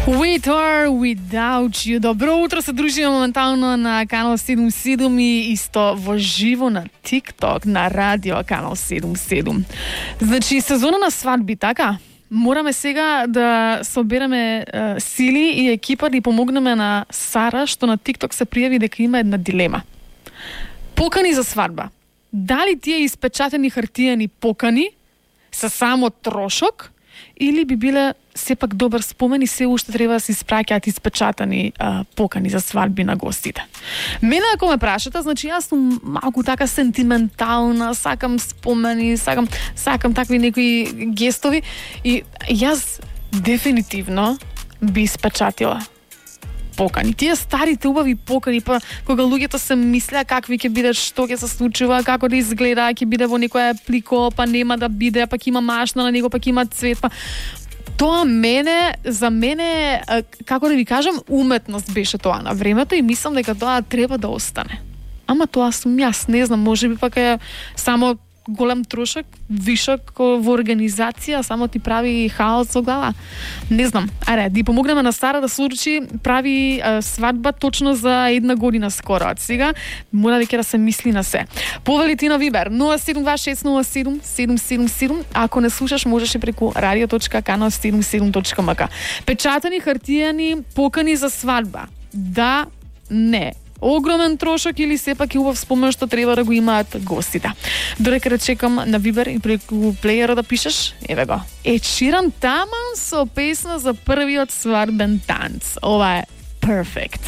With or without you. Добро утро, се дружиме моментално на канал 77 и исто во живо на TikTok на радио канал 77. Значи сезона на свадби, така? Мораме сега да собереме сили и екипа да помогнеме на Сара, што на TikTok се пријави дека има една дилема. Покани за свадба. Дали тие испечатени хартиени покани се само трошок или би биле сепак добар спомен и се уште треба да се испраќаат испечатани покани за свадби на гостите. Мене ако ме прашате, значи јас сум малку така сентиментална, сакам спомени, сакам такви некои гестови и јас дефинитивно би испечатила покани. Тие старите убави покани, па кога луѓето се мислеа какви ќе бидат, што ќе се случува, како да изгледа, ќе биде во некоја плико, па нема да биде, пак има машна на него, пак има цвет, па тоа за мене, како да ви кажам, уметност беше тоа на времето и мислам дека тоа треба да остане. Ама тоа сум јас, не знам, можеби пак е само голем трошок, вишок во организација, само ти прави хаос во глава. Не знам. Аре, да помогнеме на Сара да случи, прави свадба точно за една година скоро. Од сега мора веќе да се мисли на се. Повели ти на Вибер 072600777. Ако не слушаш, можеш и преку radio.canal77.mk. Печатани хартијани покани за свадба. Да, не. Огромен трошок или сепак и убав спомен што треба да го имаат гостите. Додека да чекам на Вибер и преку плејера да пишеш, еве го. Ед Ширан таман со песна за првиот свадбен танц. Ова е Perfect.